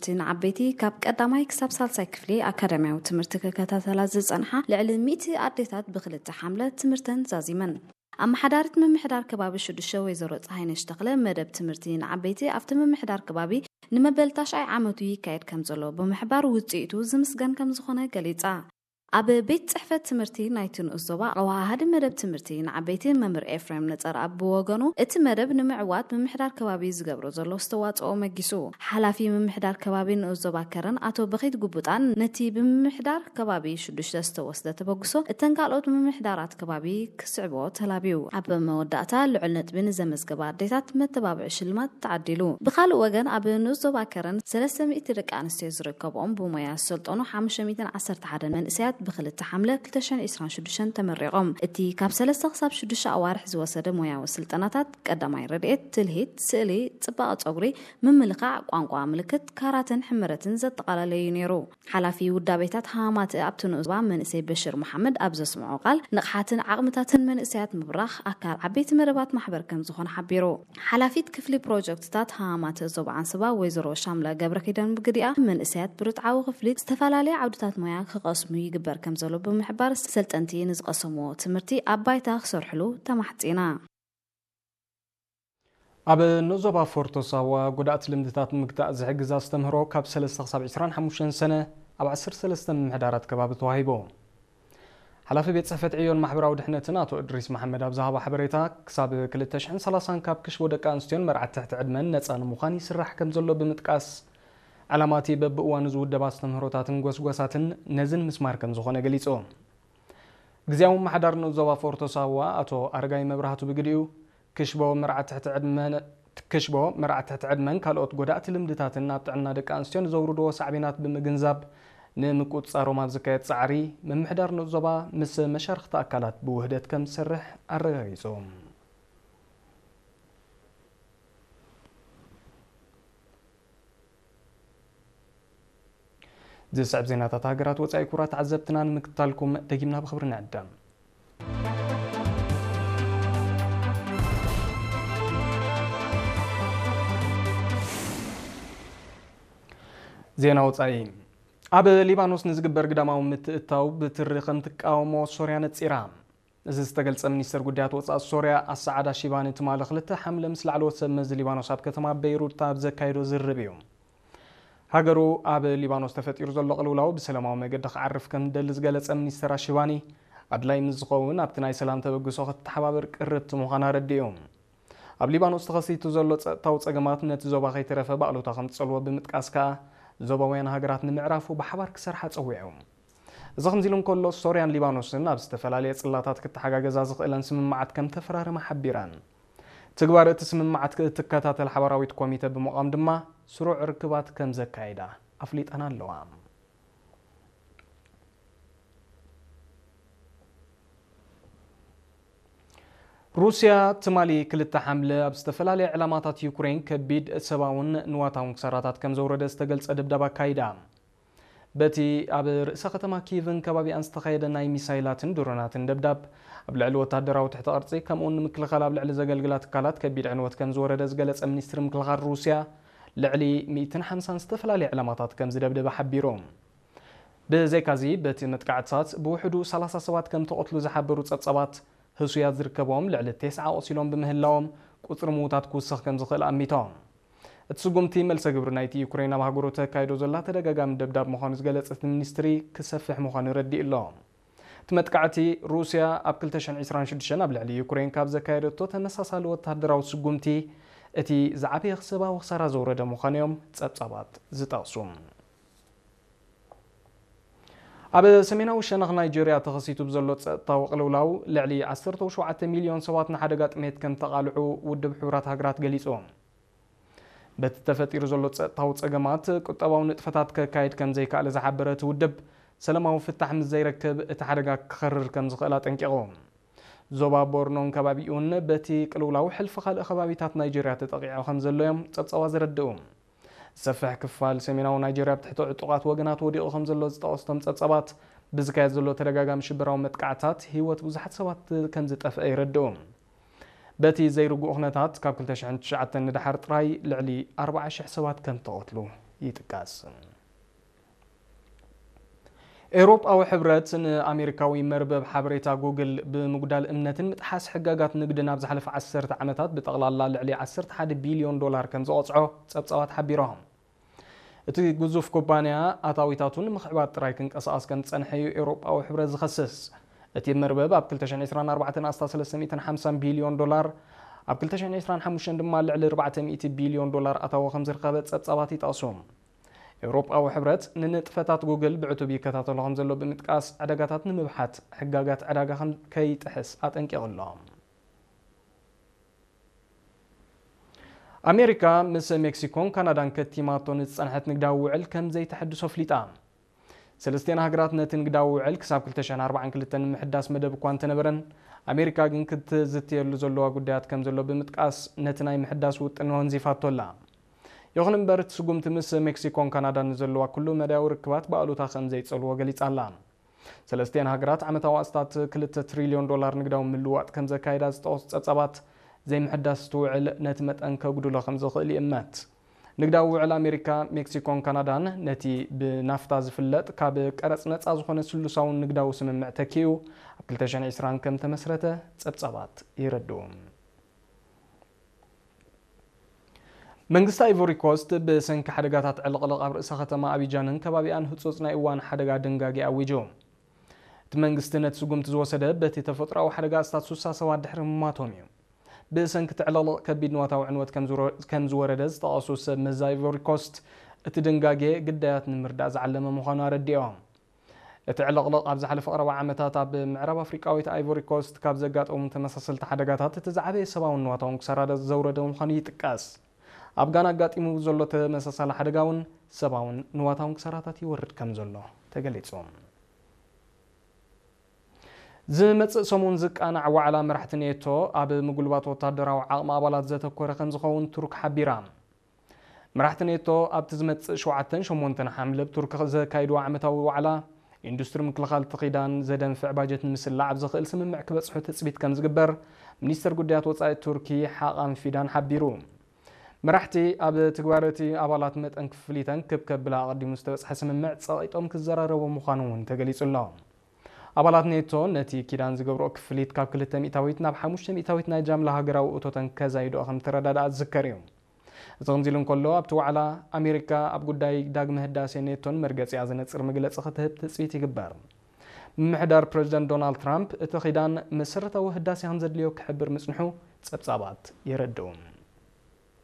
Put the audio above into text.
እቲ ንዓበይቲ ካብ ቀዳማይ ክሳብ ሳልሳይ ክፍሊ ኣካዳሚያዊ ትምህርቲ ክከታተላ ዝጸንሓ ልዕሊ ሚእቲ ኣዴታት ብክልተ ሓምለ ትምህርተን ዛዚመን። ኣመሓዳሪት ምምሕዳር ከባቢ ሽዱሽተ ወይዘሮ ፀሃይነሽ ተኽለ፣ መደብ ትምህርቲ ንዓበይቲ ኣብቲ ምምሕዳር ከባቢ ንመበል ታሽዓይ ዓመቱ ይካየድ ከም ዘሎ ብምሕባር፣ ውፅኢቱ ዝምስገን ከም ዝኾነ ገሊፃ። ኣብ ቤት ጽሕፈት ትምህርቲ ናይቲ ንኡስ ዞባ ኣወሃሃዲ መደብ ትምህርቲ ንዓበይቲ መምህር ኤፍሬም ነጸርኣብ ብወገኑ፣ እቲ መደብ ንምዕዋት ምምሕዳር ከባቢ ዝገብሮ ዘሎ ኣስተዋጽኦ መጊሱ። ሓላፊ ምምሕዳር ከባቢ ንኡስ ዞባ ከረን ኣቶ በኺት ጉቡጣን፣ ነቲ ብምምሕዳር ከባቢ ሽዱሽተ ዝተወስደ ተበግሶ እተን ካልኦት ምምሕዳራት ከባቢ ክስዕቦ ተላብዩ። ኣብ መወዳእታ ልዑል ነጥቢ ንዘመዝገባ ኣዴታት መተባብዒ ሽልማት ተዓዲሉ። ብኻልእ ወገን፣ ኣብ ንኡስ ዞባ ከረን ሰለስተ ሚእቲ ደቂ ኣንስትዮ ዝርከብኦም ብሞያ ዝሰልጠኑ ሓሙሽተ ሚእትን ዓሰርተ ሓደን መንእሰያት ብክልተ ሓምለ ክልተ ሽሕን ዕስራን ሽዱሽተን ተመሪቖም። እቲ ካብ ሰለስተ ክሳብ ሽዱሽተ ኣዋርሕ ዝወሰደ ሞያዊ ስልጠናታት ቀዳማይ ረድኤት፣ ትልሂት፣ ስእሊ፣ ጽባቐ ጸጉሪ፣ ምምልኻዕ፣ ቋንቋ ምልክት፣ ካራተን ሕመረትን ዘጠቓለለ እዩ ነይሩ። ሓላፊ ውዳቤታት ሃማማተ ኣብቲ ንኡስ ዞባ መንእሰይ በሽር መሓመድ ኣብ ዘስምዖ ቃል፣ ንቕሓትን ዓቕምታትን መንእሰያት ምብራኽ ኣካል ዓበይቲ መደባት ማሕበር ከም ዝኾነ ሓቢሩ። ሓላፊት ክፍሊ ፕሮጀክትታት ሃማማተ ዞባ ዓንሰባ ወይዘሮ ሻምላ ገብረኪዳን ብግዲኣ፣ መንእሰያት ብርትዓዊ ክፍሊት ዝተፈላለየ ዓውድታት ሞያ ክቐስሙ ይግበር ከም ዘሎ ብምሕባር፣ ሰልጠንቲ ንዝቐሰምዎ ትምህርቲ ኣብ ባይታ ክሰርሕሉ ተማሕጺና። ኣብ ንኡስ ዞባ ፎርቶ ሳዋ ጎዳእቲ ልምድታት ንምግታእ ዝሕግዝ ኣስተምህሮ ካብ ሰለስተ ክሳብ ዕስራን ሓሙሽተን ሰነ ኣብ ዓሰርተ ሰለስተ ምምሕዳራት ከባቢ ተዋሂቡ። ሓላፊ ቤት ጽሕፈት ዕዮን ማሕበራዊ ድሕነትን ኣቶ እድሪስ መሓመድ ኣብ ዝሃቦ ሓበሬታ፣ ክሳብ ክልተ ሽሕን ሰላሳን ካብ ክሽቦ ደቂ ኣንስትዮን መርዓት ትሕቲ ዕድመን ነጻ ንምዃን ይስራሕ ከም ዘሎ ብምጥቃስ፣ ዕላማ እቲ በብእዋኑ ዝውደብ ኣስተምህሮታትን ጎስጓሳትን ነዚ ንምስማር ከም ዝኾነ ገሊጹ። ግዝያዊ ምምሕዳር ንኡስ ዞባ ፎርቶ ሳዋ ኣቶ ኣረጋይ መብራህቱ ብግዲኡ፣ ክሽቦ፣ መርዓ ትሕቲ ዕድመን፣ ክሽቦ፣ መርዓ ትሕቲ ዕድመን ካልኦት ጎዳእቲ ልምድታትን ኣብ ጥዕና ደቂ ኣንስትዮ ንዘውርድዎ ሳዕቤናት ብምግንዛብ፣ ንምቁጽጻሮም ኣብ ዝካየድ ጻዕሪ፣ ምምሕዳር ንኡስ ዞባ ምስ መሻርኽቲ ኣካላት ብውህደት ከም ዝሰርሕ ኣረጋጊጹ። ዝስዕብ ዜናታት ሃገራት ወጻኢ፣ ክቡራት ተዓዘብትና፣ ንምክታልኩም ደጊምና ብኽብሪ ንዕደም። ዜና ወጻኢ። ኣብ ሊባኖስ ንዝግበር ግዳማዊ ምትእትታው ብትሪ ከም ትቃወሞ ሶርያ ነጺራ። እዚ ዝተገልጸ ሚኒስተር ጉዳያት ወጻኢ ሶርያ ኣሳዓዳ ሺባኒ ትማሊ ክልተ ሓምለ ምስ ላዕለዎት ሰብ መዚ ሊባኖስ ኣብ ከተማ በይሩት ኣብ ዘካየዶ ዝርርብ እዩ። ሃገሩ ኣብ ሊባኖስ ተፈጢሩ ዘሎ ቅልውላው ብሰላማዊ መገዲ ክዓርፍ ከም ትደሊ ዝገለጸ ሚኒስተር ኣሺባኒ፣ ኣድላይ ምስ ዝኸውን ኣብቲ ናይ ሰላም ተበግሶ ክትተሓባበር ቅርብቲ ምዃና ኣረዲኡ። ኣብ ሊባኖስ ተኸሲቱ ዘሎ ጸጥታዊ ጸገማት ነቲ ዞባ ከይተረፈ ብኣሉታ ከም ዝጸልዎ ብምጥቃስ ከኣ፣ ዞባውያን ሃገራት ንምዕራፉ ብሓባር ክሰርሓ ጸዊዑ። እዚ ከምዚ ኢሉ እንከሎ፣ ሶርያን ሊባኖስን ኣብ ዝተፈላለየ ጽላታት ክተሓጋገዛ ዝኽእለን ስምምዓት ከም ተፈራረማ ሓቢረን። ትግባረ እቲ ስምምዓት ክትከታተል ሓባራዊት ኮሚተ ብምቋም ድማ ስሩዕ ርክባት ከም ዘካይዳ ኣፍሊጠን ኣለዋ። ሩስያ ትማሊ ክልተ ሓምለ ኣብ ዝተፈላለየ ዕላማታት ዩክሬን ከቢድ ሰብኣውን ንዋታውን ክሳራታት ከም ዘውረደ ዝተገልጸ ደብዳብ ኣካይዳ። በቲ ኣብ ርእሰ ከተማ ኪቭን ከባቢኣን ዝተኻየደ ናይ ሚሳይላትን ድሮናትን ደብዳብ፣ ኣብ ልዕሊ ወታደራዊ ትሕቲ ቅርጺ ከምኡውን ንምክልኻል ኣብ ልዕሊ ዘገልግላ ትካላት ከቢድ ዕንወት ከም ዝወረደ ዝገለጸ ሚኒስትሪ ምክልኻል ሩስያ፣ ልዕሊ ሚእትን ሓምሳን ዝተፈላለየ ዕላማታት ከም ዝደብደበ ሓቢሩ። ብዘይካዚ፣ በቲ መጥቃዕትታት ብውሕዱ ሰላሳ ሰባት ከም ተቐትሉ ዝሓበሩ ጸብጻባት፣ ህሱያት ዝርከብዎም ልዕሊ ተስዓ ቆሲሎም ብምህላዎም፣ ቁጽሪ ምዉታት ክውስኽ ከም ዝኽእል ኣሚቶም። እቲ ስጉምቲ፣ መልሰ ግብሪ ናይቲ ዩክሬን ኣብ ሃገሩ ተካይዶ ዘላ ተደጋጋሚ ደብዳብ ምዃኑ ዝገለጸ እቲ ሚኒስትሪ፣ ክሰፍሕ ምዃኑ ረዲኡ ኣሎ። እቲ መጥቃዕቲ፣ ሩስያ ኣብ ክልተ ሽሕን ዕስራን ሽዱሽተን ኣብ ልዕሊ ዩክሬን ካብ ዘካየደቶ ተመሳሳሊ ወተሃደራዊ ስጉምቲ፣ እቲ ዝዓበየ ሰብኣዊ ክሳራ ዘውረደ ምዃኑ እዮም ጸብጻባት ዝጠቕሱ። ኣብ ሰሜናዊ ሸነኽ ናይጀርያ ተኸሲቱ ብዘሎ ጸጥታዊ ቅልውላው፣ ልዕሊ ዓሰርተ ሸውዓተ ሚልዮን ሰባት ንሓደጋ ጥሜት ከም ተቓልዑ ውድብ ሕቡራት ሃገራት ገሊጹ። በቲ ተፈጢሩ ዘሎ ጸጥታዊ ጸገማት፣ ቁጠባዊ ንጥፈታት ከካይድ ከም ዘይከኣለ ዝሓበረ እቲ ውድብ፣ ሰላማዊ ፍታሕ ምስ ዘይረክብ፣ እቲ ሓደጋ ክኸርር ከም ዝኽእል ኣጠንቂቑ። ዞባ ቦርኖን ከባቢኡን በቲ ቅልውላው ሕልፊ ካልእ ከባቢታት ናይጀርያ ተጠቒዑ ከም ዘሎ እዮም ጸብጻባት ዘረድኡ። ዝሰፍሕ ክፋል ሰሜናዊ ናይጀርያ ኣብ ትሕቲ ዕጡቓት ወገናት ወዲቑ ከም ዘሎ ዝጠቐሱ እቶም ጸብጻባት፣ ብዝካየድ ዘሎ ተደጋጋሚ ሽበራዊ መጥቃዕታት ህይወት ብዙሓት ሰባት ከም ዝጠፍአ የረድኡ። በቲ ዘይርጉእ ኩነታት፣ ካብ ክልተ ሽሕን ትሽዓተን ንደሓር ጥራይ ልዕሊ ኣርባዓ ሽሕ ሰባት ከም ተቐትሉ ይጥቀስ። ኤውሮጳዊ ሕብረት ንኣሜሪካዊ መርበብ ሓበሬታ ጉግል ብምጉዳል እምነትን ምጥሓስ ሕጋጋት ንግድን ኣብ ዝሓለፈ ዓሰርተ ዓመታት ብጠቕላላ ልዕሊ ዓሰርተ ሓደ ቢልዮን ዶላር ከም ዝቐጽዖ ጸብጻባት ሓቢሮም። እቲ ግዙፍ ኩባንያ ኣታዊታቱ ንምኽዕባት ጥራይ ክንቀሳቐስ ከም ዝጸንሐ እዩ ኤውሮጳዊ ሕብረት ዝኸስስ። እቲ መርበብ ኣብ ክልተ ሽሕን ዕስራን ኣርባዕተን ኣስታት ሰለስተ ሚእትን ሓምሳን ቢልዮን ዶላር፣ ኣብ ክልተ ሽሕን ዕስራን ሓሙሽተን ድማ ልዕሊ ኣርባዕተ ሚእቲ ቢልዮን ዶላር ኣታዊ ከም ዝረኸበ ጸብጻባት ይጠቕሱ። ኤውሮጳዊ ሕብረት ንንጥፈታት ጉግል ብዕቱብ ይከታተሎ ከም ዘሎ ብምጥቃስ፣ ዕዳጋታት ንምብሓት ሕጋጋት ዕዳጋ ከም ከይጥሕስ ኣጠንቂቑ ኣሎ። ኣሜሪካ ምስ ሜክሲኮን ካናዳን ከቲማቶ ንዝጸንሐት ንግዳዊ ውዕል ከም ዘይተሐድሶ ኣፍሊጣ። ሰለስቲኤን ሃገራት ነቲ ንግዳዊ ውዕል ክሳብ ክልተ ሽሕን ኣርባዓን ክልተን ንምሕዳስ መደብ እኳ እንተነበረን፣ ኣሜሪካ ግን ክትዝትየሉ ዘለዋ ጉዳያት ከም ዘሎ ብምጥቃስ፣ ነቲ ናይ ምሕዳስ ውጥን ወንዚፋቶ ኣላ። ይኹን እምበር፣ እቲ ስጉምቲ ምስ ሜክሲኮን ካናዳን ንዘለዋ ኩሉ መዳያዊ ርክባት ብኣሉታ ከም ዘይጸልዎ ገሊጻ ኣላ። ሰለስቲኤን ሃገራት ዓመታዊ ኣስታት ክልተ ትሪልዮን ዶላር ንግዳዊ ምልውዋጥ ከም ዘካየዳ ዝጠቐሱ ጸብጻባት፣ ዘይምሕዳስ እቲ ውዕል ነቲ መጠን ከጉድሎ ከም ዝኽእል ይእመት። ንግዳዊ ውዕል ኣሜሪካ፣ ሜክሲኮን ካናዳን ነቲ ብናፍታ ዝፍለጥ ካብ ቀረጽ ነጻ ዝኾነ ስሉሳውን ንግዳዊ ስምምዕ ተኪኡ ኣብ ክልተ ሽሕን ዕስራን ከም ተመስረተ ጸብጻባት የረድኡ። መንግስቲ ኣይቮሪ ኮስት ብሰንኪ ሓደጋታት ዕልቕልቕ ኣብ ርእሰ ከተማ ኣቢጃንን ከባቢኣን ህጹጽ ናይ እዋን ሓደጋ ድንጋጌ ኣዊጁ። እቲ መንግስቲ ነቲ ስጉምቲ ዝወሰደ በቲ ተፈጥሮኣዊ ሓደጋ ኣስታት ሱሳ ሰባት ድሕሪ ምማቶም እዩ። ብሰንኪ እቲ ዕልቕልቕ ከቢድ ንዋታዊ ዕንወት ከም ዝወረ-፣ ከም ዝወረደ ዝጠቐሱ ሰብ መዚ ኣይቮሪ ኮስት፣ እቲ ድንጋጌ ግዳያት ንምርዳእ ዝዓለመ ምዃኑ ኣረዲኦም። እቲ ዕልቕልቕ ኣብ ዝሓለፈ ቀረባ ዓመታት ኣብ ምዕራብ ኣፍሪቃዊት ኣይቮሪ ኮስት ካብ ዘጋጠሙ ተመሳሰልቲ ሓደጋታት እቲ ዝዓበየ ሰብኣውን ንዋታውን ክሳራ ዘውረደ ምዃኑ ይጥቀስ። ኣብ ጋና ኣጋጢሙ ዘሎ ተመሳሳሊ ሓደጋ እውን ሰብኣውን ንዋታውን ክሳራታት ይወርድ ከም ዘሎ ተገሊጹ። ዝመጽእ ሰሙን ዝቃናዕ ዋዕላ መራሕቲ ኔቶ ኣብ ምጉልባት ወታደራዊ ዓቕሚ ኣባላት ዘተኮረ ከም ዝኸውን ቱርክ ሓቢራ። መራሕቲ ኔቶ ኣብቲ ዝመጽእ ሸውዓተን ሸሞንተን ሓምለ ኣብ ቱርክ ዘካይድዎ ዓመታዊ ዋዕላ፣ ኢንዱስትሪ ምክልኻል እቲ ኪዳን ዘደንፍዕ ባጀት ንምስላዕ ኣብ ዝኽእል ስምምዕ ክበጽሑ ትጽቢት ከም ዝግበር ሚኒስተር ጉዳያት ወጻኢ ቱርኪ ሓቃን ፊዳን ሓቢሩ። መራሕቲ ኣብ ትግባረ እቲ ኣባላት መጠን ክፍሊተን ክብ ከብላ ኣቐዲሙ ዝተበጽሐ ስምምዕ ጸቒጦም ክዘራረቡ ምዃኑ እውን ተገሊጹ ኣሎ። ኣባላት ኔቶ ነቲ ኪዳን ዝገብርኦ ክፍሊት ካብ ክልተ ሚእታዊት ናብ ሓሙሽተ ሚእታዊት ናይ ጃምላ ሃገራዊ እቶተን ከዛይድኦ ከም ዝተረዳድኣ ዝዝከር እዩ። እዚ ከምዚ ኢሉ እንከሎ፣ ኣብቲ ዋዕላ ኣሜሪካ ኣብ ጉዳይ ዳግመ ህዳሴ ኔቶን መርገጺኣ ዘነጽር መግለጺ ክትህብ ትጽቢት ይግበር። ምምሕዳር ፕረዚደንት ዶናልድ ትራምፕ እቲ ኪዳን መሰረታዊ ህዳሴ ከም ዘድልዮ ክሕብር ምጽንሑ ጸብጻባት የረድኡ።